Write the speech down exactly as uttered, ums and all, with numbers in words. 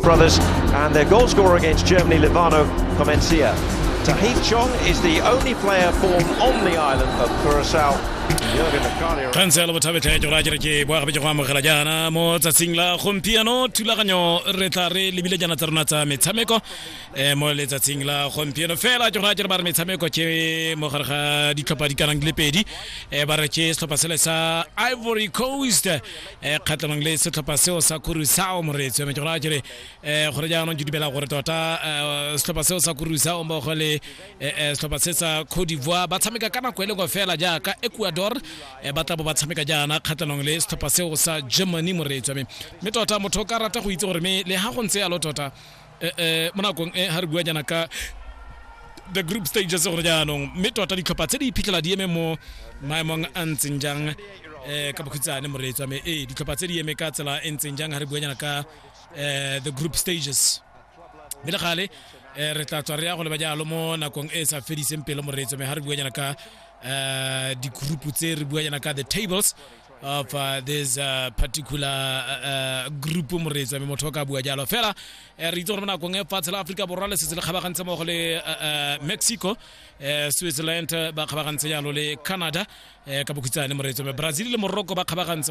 Chong brothers and their goal scorer against Germany, Livano Comencia. Tahith Chong is the only player born on the island of Curacao. Jurgen Locadia. Khanselo Bothabetlhe, ke go raya ke boa gape ke go amogela jaana mo tsatsing la gompieno. Thulaganyo re tla re lebile jaana tsa rona tsa metshameko um mo letsatsing la gompieno. Fela ke go raya ke re ba re metshameko ke mo gare ga ditlhopha di kanang di le pedi, um ba re ke setlhopha sele sa Ivory Coast um kgatlhanong le setlhopha seo sa Curacao. Moreetsi wa me, ke go raya ke re um gore jaanong ke dumela gore tota um setlhopha seo sa Curacao mmogo le eh, eh, setlhopha se sa Cote d'Ivoire ba tshameka ka nako e lengwe fela jaaka Ecuador eh, ba tla bo ba tshameka jaana kgatlhanong le setlhopha seo sa Germany. Moreetsi wa me, mme tota motho o ka rata go itse gore mme le ha go ntse yalo tota eh, eh, mo nakong e ha re bua jaana ka the group stages gore jaanong mme tota ditlhopha tse di iphitlhela di eme mo maemong a ntseng jang um ka bokhutshwane, moreetsi wa me, ee, ditlhopha tse di eme ka tsela e ntseng jang ha re bua jaana ka um the group stages. Mme le gale um re tla tswa re ya go leba jalo mo nakong e e sa fediseng pelo, moreetsi wa me, ha re bua jaana ka um di-group tse, re bua jaana ka the tables of uh, this uh, particular uh, uh, group. Moreetsi wa me, motho o ka bua jalo fela eh, re itse gore mo nakong e fatshe la Aforika Borwa le setse le kgabagantse mmogo le uh, uh, Mexico, eh, Switzerland ba kgabagantse jalo le Canada eh, ka bokhutshwane, moreetsi wa me, Brazil le Morocco ba kgabagantse.